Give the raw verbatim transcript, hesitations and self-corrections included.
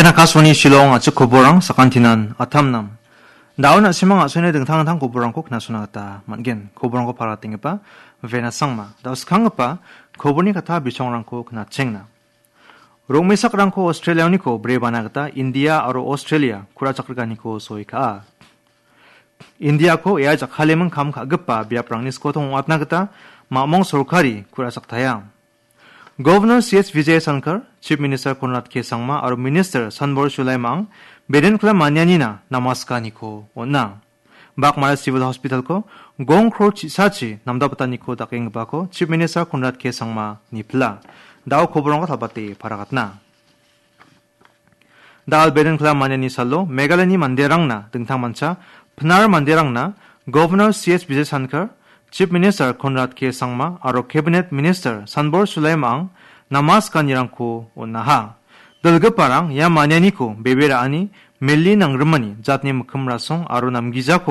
Akashvani Shillong a·chik koborang sakantinan atamnam. Daun a·simang a·songni dingtang dingtang koborangko knasona gita man·gen. Koborangko paratenggipa Vena Sangma. Dao skanggipa koborni kata bisongrangko knatchengna. Rongmesakrangko Australiaoniko brebana gita India aro Australia ku·rachakrikaniko soi ka·a. Indiako ia jakkaleming kam ka·gipa biaprangni skotong ong·atna gita mamong sorkari ku·rachaktaia. Governor C H Vijayashankar, Chief Minister Conrad K Sangma aro Minister Sanbor Shulaimang Bedenkla manianina namaskaniko on·a. Bakmara Civil Hospitalko gong kror chisachi namdabataniko dakenggipako Chief Minister Conrad K Sangma nipila. Dao koborangko talbate paragatna. Dal Bedenkla maniani salo Meghalayani manderangna dingtangmancha Pnar manderangna Governor C H Vijayashankar, Chief Minister Conrad K Sangma aro Cabinet Minister Sanbor Shulaimang namaskanirangko on·aha. Dilgiparang ia manianiko bebe ra·ani meli nangrimani jatni mikkim rasong aro namgijako